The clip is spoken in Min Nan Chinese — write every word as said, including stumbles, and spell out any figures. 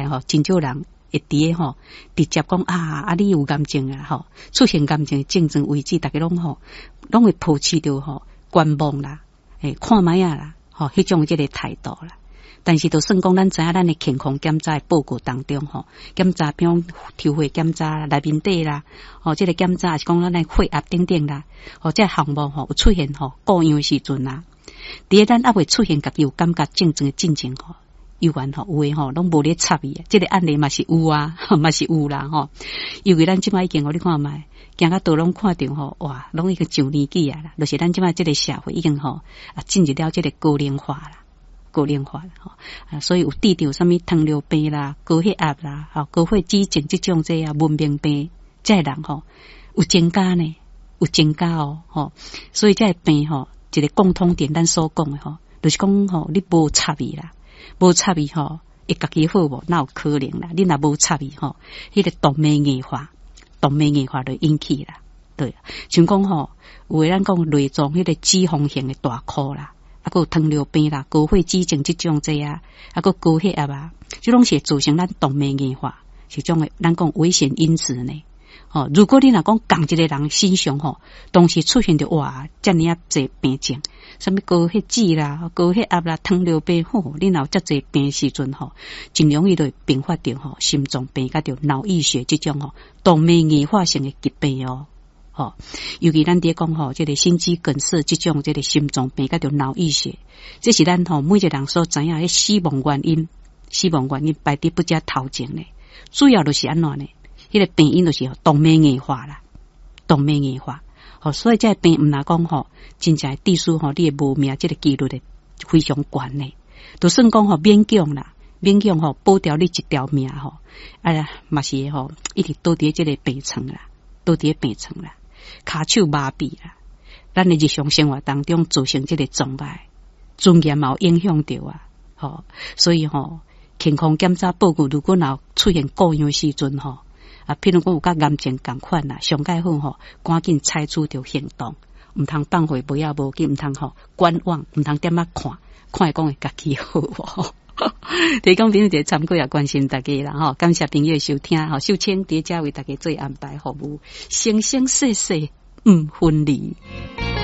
來吼，真少人會佇咧吼，直接講啊，啊你有癌症啊吼，出現癌症的症狀為止，逐家攏吼，攏會抱持著吼觀望啦，欸，看覓仔啦，吼，彼種這個態度啦。但是，就算講咱知影咱的健康檢查的報告當中吼，檢查比如抽血檢查內面底啦，吼，這個檢查是講咱的血壓等等啦，吼，這個項目吼有出現吼故樣的時陣啊，佇咧咱猶未出現家己有感覺症狀的進前吼，猶原吼有的吼攏無咧插伊，這個案例嘛是有啊，嘛是有啦吼。尤其咱這擺已經予你看覓，行較倒攏看著吼，哇，攏已經上年紀啊啦，就是咱這擺這個社會已經吼啊進入了這個高齡化啦。高齡化啦，吼啊，所以有得著啥物糖尿病啦、高血壓啦、吼高血脂症這種這啊文明病，這個人吼有增加呢，有增加哦，吼，所以這個病吼一個共通點，咱所講的吼，就是講吼你無插伊啦，無插伊吼，會家己好無？哪有可能啦？你若無插伊吼，彼個動脈硬化，動脈硬化就引起啦，對，像講吼，有的咱講內臟彼個脂肪型的大箍啦。啊，閣有糖尿病啦、高血脂症這種這啊，啊，閣高血壓啊，這攏是會造成咱動脈硬化，是種的咱講危險因子呢。吼，如果你若講仝一個人身上吼，同時出現著哇，遮爾仔濟病症，啥物高血脂啦、高血壓啦、糖尿病，吼，你若有遮濟病時陣吼，真容易就會併發著吼心臟病，佮著腦溢血這種吼動脈硬化性的疾病哦。吼，尤其咱佇咧講吼，這個心肌梗塞這種這個心臟病，佮著腦溢血，這是咱吼每一個人所知影的死亡原因，死亡原因排佇不遮頭前咧，主要就是按怎呢？彼個病因就是動脈硬化啦，動脈硬化。吼，所以這個病毋若講吼，真正致死吼，你會無命這個幾率會非常懸的。就算講吼勉強啦，勉強吼保牢你一條命吼，啊嘛是吼一直倒佇這個病床啦，倒佇病床啦。跤手麻痹啦，咱的日常生活當中造成這個障礙，尊嚴嘛有影響著啊，吼，所以吼健康檢查報告如果若出現故樣的時陣吼，啊，譬如講有佮癌症仝款啦，上蓋好吼，趕緊採取著行動，毋通放予無影無緊，毋通吼觀望，毋通踮仔看，看會講會家己好無？提供朋友一個參考也關心大家啦吼，感謝朋友的收聽吼，秀清佇遮為大家做安排服務，生生世世毋分離。